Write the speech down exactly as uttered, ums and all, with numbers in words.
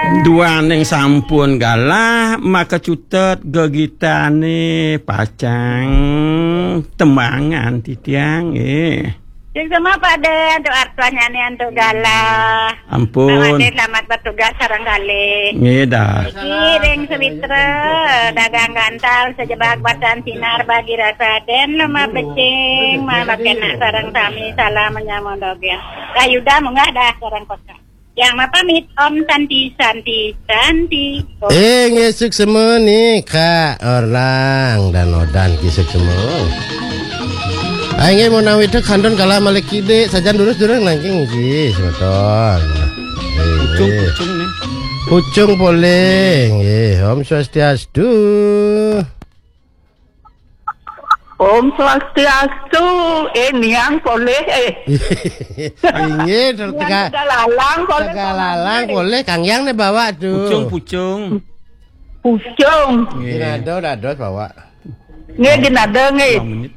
Duaning sampun galah, maka cutet gegitane pacang tembangan titiang, eh. Sing sama Pak De, antuk artuannyane antuk galah. Ampun. Pak De, selamat bertugas sareng kalih. Nggih, dah. Iki ring Sawitra, dagang gantal, sejebak batan sinar bagi rasa den, lemah becing, malah kena sareng sami, salam menyambung dogeng. Kayuda munggah dah sareng kota. Yang mapamit, Om Santi, Santi, Santi. Om. Eh, nggih, suksema nika, Orlang dan Odan ki suksema. Ah, nggih, menawi itu kantun kala malih kidik, sajan durus-durus nangking nggih, semeton. Eh, Pucung, nggih. Pucung nih. Pucung polih, nggih. Om Swastiastu. Om Swastiastu, eh, niang polih, eh. Inggih, Niang teka-, Tegalalang polih, Tegalalang polih, Kang Yang ne bawa tu. Pucung, pucung. Pucung. Nggih. Dinado dados bawa. Nggih, dinado, nggih. Dua menit.